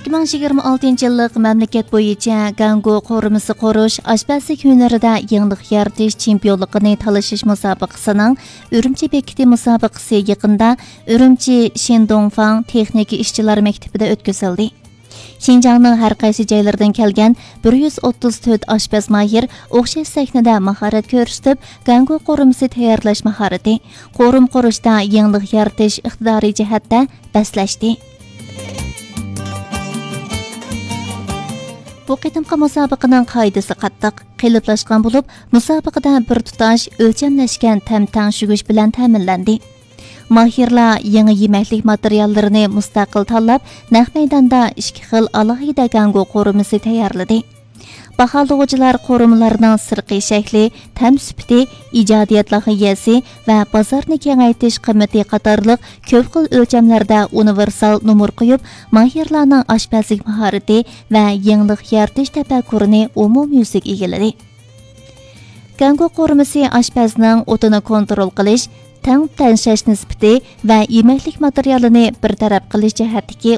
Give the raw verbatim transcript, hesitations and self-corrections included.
ئىككى مىڭ يىگىرمە ئالتىنچى يىللىق مەملىكەت بويىچە گاڭگو قورۇمىسى قۇرۇش ئاشپەزلىك ھۈنىرىدە يېڭىلىق يارىتىش چېمپىيونلۇقىنى تالىشىش مۇسابىقىسىنىڭ ئۈرۈمچى بېكىتى مۇسابىقىسى يېقىندا ئۈرۈمچى شىندوڭفاڭ تېخنىكا ئىشچىلار مەكتىپىدە ئۆتكۈزۈلدى. شىنجاڭنىڭ ھەر قايسى جايلىرىدىن كەلگەن بىر يۈز ئوتتۇز تۆت ئاشپەز ماھىر ئوخشاش سەھنىدە ماھارەت كۆرسىتىپ، گاڭگو قورۇمىسى تەييارلاش ماھارىتى، قورۇم قۇرۇشتا يېڭىلىق يارىتىش ئىقتىدارى جەھەتتە بەسلەشتى. بۇ قېتىمقى مۇسابىقىنىڭ قائىدىسى قاتتىق، قېلىپلاشقان بولۇپ، مۇسابىقىدە بىر تۇتاش ئۆلچەملەشكەن تەم تەڭشىگۈچ بىلەن تەمىنلەندى. ماھىرلار يېڭى يېمەكلىك ماتېرىياللىرىنى مۇستەقىل تاللاپ، نەق مەيداندا ئىككى خىل ئالاھىدە گاڭگو قورۇمىسى تەييارلىدى. باھالىغۇچىلار قورۇمىلارنىڭ سىرتقى شەكلى، تەم سۈپىتى، ئىجادىيەت لايىھەسى ۋە بازارنى كېڭەيتىش قىممىتى قاتارلىق كۆپ خىل ئۆلچەملەردە ئۇنىۋېرسال نومۇر قويۇپ، ماھىرلارنىڭ ئاشپەزلىك ماھارىتى ۋە يېڭىلىق يارىتىش تەپەككۇرىنى ئومۇميۈزلۈك ئىگىلىدى. گاڭگو قورۇمىسى ئاشپەزنىڭ ئوتىنى كونترول قىلىش، تەڭ تەڭشەش نىسبىتى ۋە يېمەكلىك ماتېرىيالىنى بىر تەرەپ قىلىش جەھەتتىكى